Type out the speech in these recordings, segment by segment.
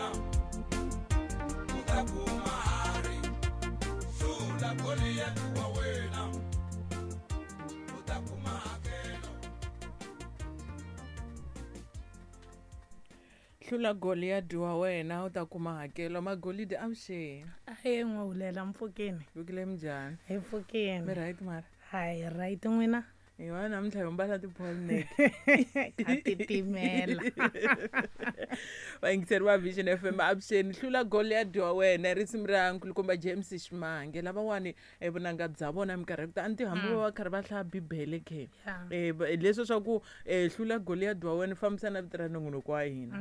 wena u ta kuma hari hlula Goliyati wa wena u ta kuma hakelo. Hlula Goliyadi wa wena u ta kuma hakelo. Magolidi avuxeni. Ahe n'wahulela mpfukeni. Vukile minjhani? Hi pfukeni. Mi right mara? Hayi right n'wina. Hi va namuntlha hi mbala ti-polo neck. Ka titimela. Vayingiseri va Vision FM avuxeni. Hlula Goliyadi wa wena risimu ra nkulukumba James Ximange. Lavawani vunanga bya vona minkarhi ya ku tala a ni tivi hambi va karhi va hlaya Bibele ke. Leswi swa ku hlula Goliyadi wa wena fambisa na vito ra nongonoko wa hina.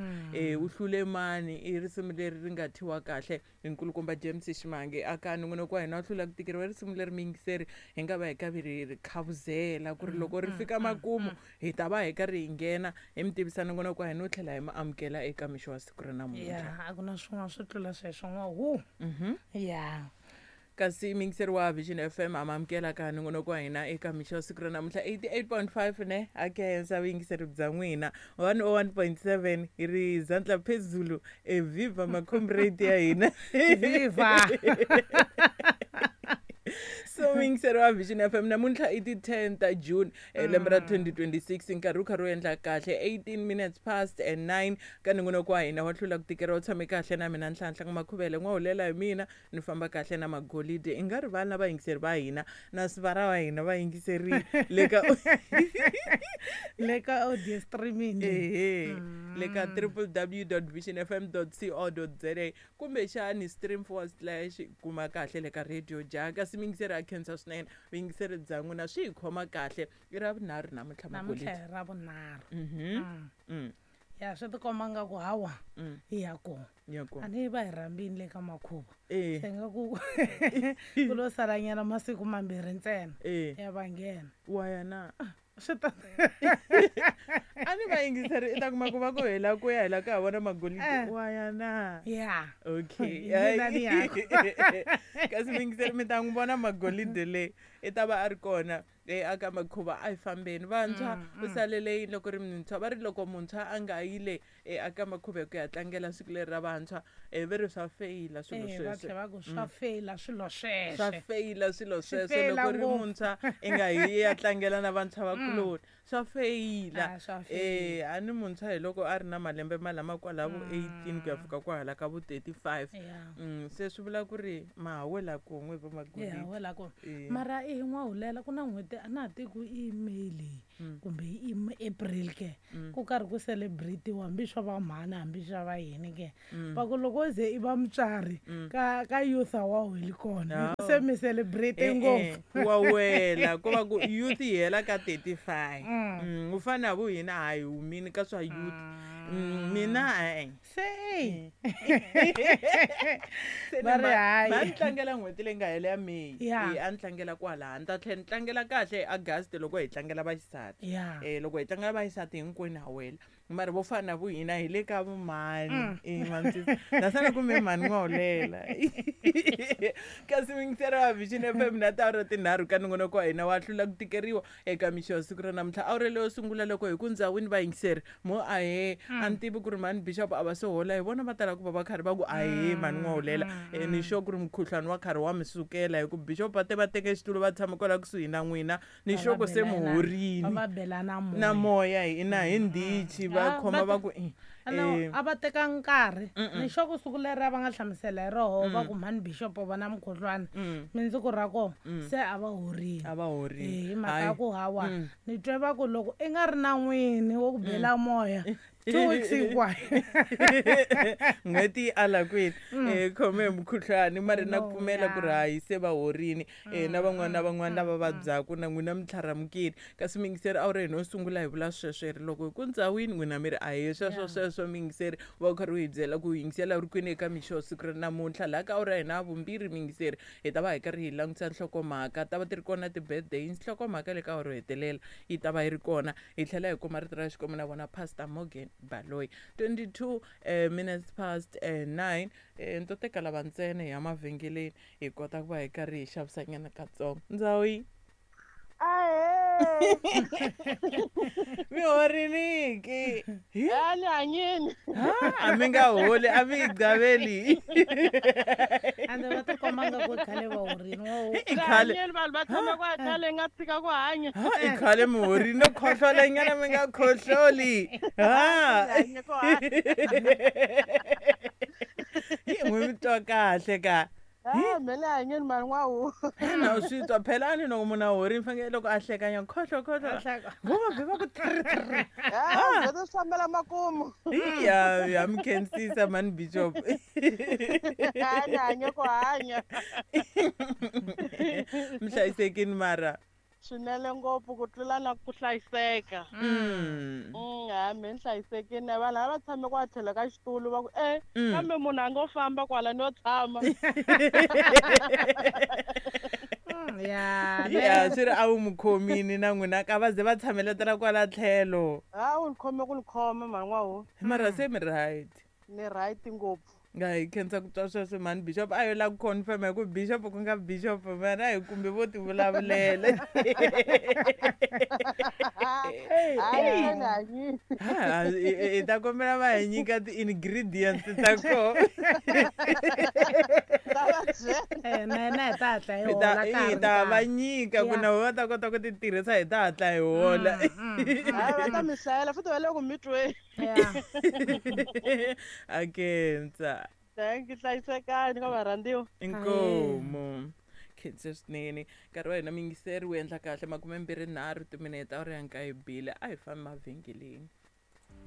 U hlule mani i risimu leri ri nga thyiwa kahle hi nkulukumba James Ximange aka nongonoko wa hina wa hlula ku tikeriwa risimu leri miyingiseri hi nga va hi karhi ri khavuzela ku ri loko ri fika makumu hi ta va hi karhi hi nghena hi mi tivisa nongonoko wa hina no tlhela hi mi amukela eka mixo wa siku ra namuntlha. Ya, a ku na swin'wana swo tlula sweswo n'wa hu. Ya. Kasi miyingiseri wa Vision FM ha mi amukela ka nongonoko wa hina eka mixo wa siku ra namuntlha 88.5 ne a khensa vuyingiseri bya n'wina 101.7 hi ri zandla phezulu e viva macomrade ya hina. Viva. So miyingiseri wa Vision FM namuntlha i ti 10 ta June lembe ra 2026 nkarhi wu karhi wu endla kahle 18 minutes past and 9 ka nongonoko wa hina wa hlula ku tikeriwa u tshame kahle na mina Nhlanhla Makhuvele n'wahulela hi mina ni famba kahle na Magolide i nga rivali na vayingiseri va hina na sivara wa hina vayingiseri le ka le ka audio streaming ehe le ka www.visionfm.co.za kumbexani stream forward slash kuma kahle le ka radio ja kasi miyingiseri a khensa swinene vuyingiseri bya n'wina swi hi khoma kahle i ra vunharhu namuntlha namuntlha Magolide. hi ra vunharhu. Ya swi tikomba nga ku hawa hi ya kona. Ya kona. A ni va hi rhambini le ka makhuva. Eh. Se nga ku ku lo salanyana masiku mambirhi ntsena. Ya va nghena. Wa ya na? Swi ta A ni va yingiseri i ta kuma ku va ku hela ku ya hela ka ha vona Magolide. Wa ya na? Ya. Okay. Hi mina ni ya Kasi miyingiseri mi ta n'wi vona Magolide le i ta va a ri kona aka makhuva a hi fambeni vantshwa u salele yini loko ri muntshwa va ri loko muntshwa a nga yile aka makhuva ku ya tlangela siku leri ra vantshwa ve ri swa feyila swilo Va sweswo. tlhela va ku swa feyila swilo sweswo. Swa feyila swilo Swi sweswo feyila loko ri ngopfu. muntshwa i nga yi ya tlangela na vantshwa vakuloni swa feyila. Ah, swa feyila. A ni muntshwa hi loko a ri na malembe malama kwala vo 18 ku ya fika kwahala ka vo 35. Se swi vula ku ri ma ha wela kun'we va Magolide. Ya wela kun'we. Mara i n'wahulela ku na n'hweti a na ha tivi ku i May leyi kumbe i April ke ku karhi ku celebrate-iwa hambi swa va mhani hambi swa va yini ke. Va ku loko ze i va mutswari ka youth a wa weli kona. Se mi celebrate ngopfu. Wa wela ko va ku youth yi hela ka 35. U fana na vo hina ha hi humini ka swa youth. Mina e-e. Se Se Va ri hayi. ma ni tlangela n'hweti leyi nga hela ya May. Ya. A ni tlangela kwalaha. Ni ta tlhela ni tlangela kahle hi August loko hi tlangela vaxisati. Ya. Loko hi tlangela vaxisati hinkwenu ha wela. Mara vo fana na vo hina hi le ka vumhani. Mantsisa. Naswona kumbe mhani n'wahulela. Kasi miyingiseri wa Vision FM na tiawara tinharhu ka nongonoko wa hina wa hlula ku tikeriwa eka mixo ya siku ra namuntlha. Awara leyo sungula loko hi ku ndzawini vayingiseri mo ahee a ni tivi ku ri mhani Bishop a va se hola hi vona va tala ku va va karhi va ku ahee mhani n'wahulela. Ni sure ku ri mukhuhlwani wa karhi wa mi sukela hi ku Bishop va te va teke xitulu va tshama kwala kusuhi na n'wina. Ni sure ku se muhorini. Va va bela na moya. Na moya hina hi ndichi va khoma va ku, A va teka nkarhi. Ni sure ku siku leri a va nga hlamusela hi roho va ku mhani Bishop va na mukhuhlwani. Mindzuku ra kona se a va horile. A va horile. Hi mhaka ya ku hawa. Ni twe va ku loko i nga ri na n'wini wo ku bela moya 2 weeks hinkwayo. N'hweti yi ala kwini? Khome hi mukhuhlwani mara na ku pfumela ku ri hayi se va horini. Na van'wana na van'wana lava vabyaku na n'wina mi tlharamukile. Kasi miyingiseri a wu ri hina yo sungula hi vula sweswo hi ri loko hi ku ndzawini n'wina mi ri ahee sweswo sweswo miyingiseri va u karhi u hi byela ku yingisela u ri kwini eka mixo siku ra namuntlha. Laha ka awara ya hina ya vumbirhi miyingiseri hi ta va hi karhi hi langutisa nhlokomhaka ta va ti ri kona ti-birthday nhlokomhaka le ka awara yo hetelela yi ta va yi ri kona hi tlhela hi kuma rito ra Xikwembu na vona Pastor Morgan Baloyi. 22 minutes past 9 ni to teka lava ntsena hi ya mavhengeleni hi kota ku va hi karhi hi xavisanyana katsongo. Ndzawu yi? Ahee. Mi horini ke? A ni hanyini. A mi nga holi, a mi yi gaveli. Ande va tikomba nga ku khale va horini wo. I khale. Hanyeni vanhu va tshama ku khale nga tshika ku hanya. Ha, i khale mi horini no khohlola nyana mi nga khohloli. Ha. Hanye ku hanya. Hi n'wi mi twa kahle ka. Ah, me le hanyeni mani n'wawu. Na u swi twa phela a ni loko munhu a horini fanekele loko a hlekanya khohlo khohlo. Vo va vhe va ku trr trr. Ah, byo swi fambela makumu. Ya ya mi khensisa mani Bishop. A ni hanye ku hanya. Mi hlayisekini mara. Swinene ngopfu ku tlula na ku hlayiseka. Ha me ni hlayisekile vanhu lava tshame kwa tlhelo ka xitulu va ku e kambe munhu a ngo famba kwala no tshama. Ya. Ya swi ri a wu mu khomini na n'wina ka va ze va tshameletela kwala tlhelo. Ha wu ni khome ku ni khoma mhani n'wawu. Mara se mi right. Ni right ngopfu. Nga hi khensa ku twa sweswo mhani Bishop a yo lava ku confirm hi ku Bishop ku nga Bishop mara a hi kumbe vo ti vulavulela. Hayi ni hanyile. Ha, hi ta kombela va hi nyika ti-ingredients ta koho. Ta va byela. Na yena hi ta hatla hi Hi ta hola ka ha hi ri ta va nkarhi. nyika ku na vona va ta kota ku ti tirhisa hi ta hatla hi hola. Hayi va ta mi hlayela futhi va le ku mi tweni. Ya. A khensa. Thank you, hlayisekani ka varhandziwa. Inkomu. Khensa swinene. Nkarhi wa hina miyingiseri wu endla kahle 23 timinete awara ya nkaye bile a hi fambi mavhengeleni.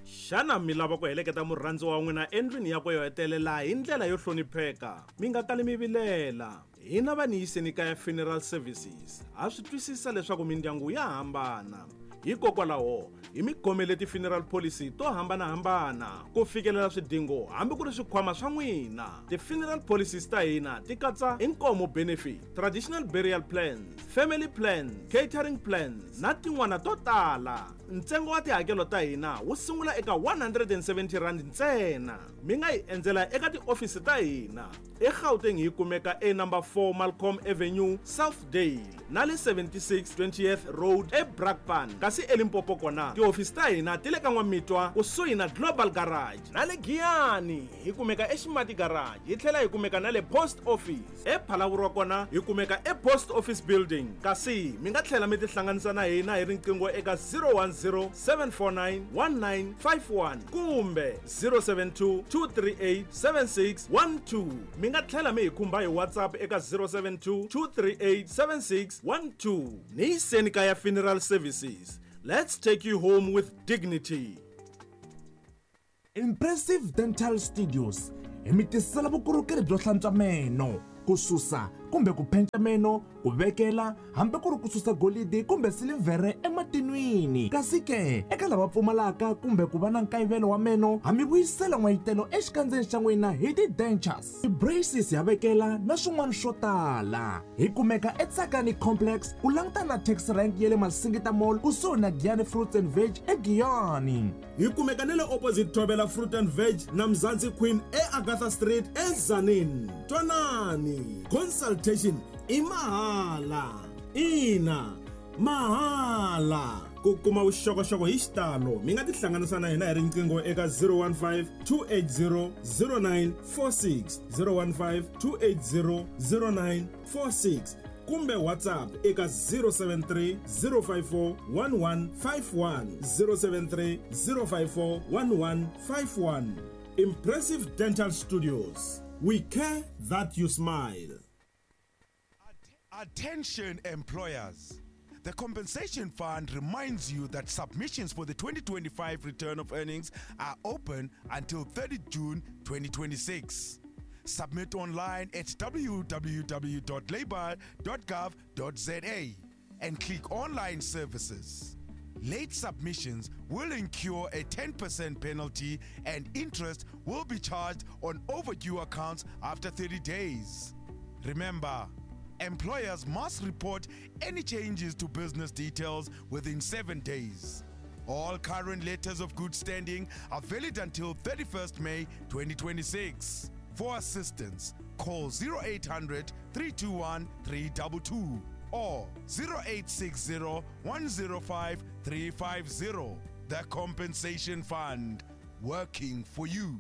Xana mi lava ku heleketa murhandziwa wa n'wina endlwini yakwe yo hetelela hi ndlela yo hlonipheka? Mi nga kali mi vilela. Hina va ni yiseni kaya Funeral Services ha swi twisisa leswaku mindyangu ya hambana. Hikokwalaho hi mi khomele ti-funeral policy to hambanahambana ku fikelela swidingo hambi ku ri swikhwama swa n'wina. Ti-funeral policies ta hina ti katsa inkomo benefit, traditional burial plans, family plans, catering plans na tin'wana to tala. Ntsengo wa tihakelo ta hina wu sungula eka 170 rand ntsena. Mi nga hi endzela eka tiofisi ta hina. eGauteng hi kumeka e number 4 Malcolm Avenue, Southdale na le 76 20th Road eBrakpan. Kasi eLimpopo kona tihofisi ta hina ti le ka N'wamitwa kusuhi na Global Garage na le Giyani hi kumeka eXimati Garage hi tlhela hi kumeka na le Post Office. ePhalaborwa kona hi kumeka ePost Office Building. Kasi mi nga tlhela mi tihlanganisa na hina hi riqingho eka 010 749 1951 kumbe 072 238 7612. Mi nga tlhela mi hi khumba hi WhatsApp eka 072 238 7612. Ni yiseni kaya Funeral Services. Let's take you home with dignity. Impressive Dental Studios hi mi tisela vukorhokeri byo hlantswa meno, ku susa kumbe ku penca meno, ku vekela hambi ku ri ku susa golidi kumbe silivhere ematin'wini. Kasi ke eka lava pfumalaka kumbe ku va na nkayivelo wa meno, ha mi vuyisela n'wayitelo exikandzeni xa n'wina hi ti-dentures, ti-braces ya vekela na swin'wana swo tala. Hi kumeka eTsakani Complex ku langutana na taxi rank ya le Masingita Mall kusuhi na Giyani Fruits and Veg eGiyani. Hi kumeka na le opposite Thobela Fruit and Veg na Mzansi Queen eAgatha Street eZanin. Twanani, consultation i mahala. Ina, mahala. Ku kuma vuxokoxoko hi xitalo mi nga tihlanganisa na hina hi riqingho eka 015 280 0946, 015 280 0946 kumbe WhatsApp eka 073 054 1151, 073 054 1151. Impressive Dental Studios. We care that you smile. Attention employers. The Compensation Fund reminds you that submissions for the 2025 return of earnings are open until 30 June 2026. Submit online at www.labour.gov.za and click Online Services. Late submissions will incur a 10% penalty and interest will be charged on overdue accounts after 30 days. Remember, employers must report any changes to business details within 7 days. All current letters of good standing are valid until 31st May 2026. For assistance, call 0800 321 322 or 0860 105 350. The Compensation Fund, working for you.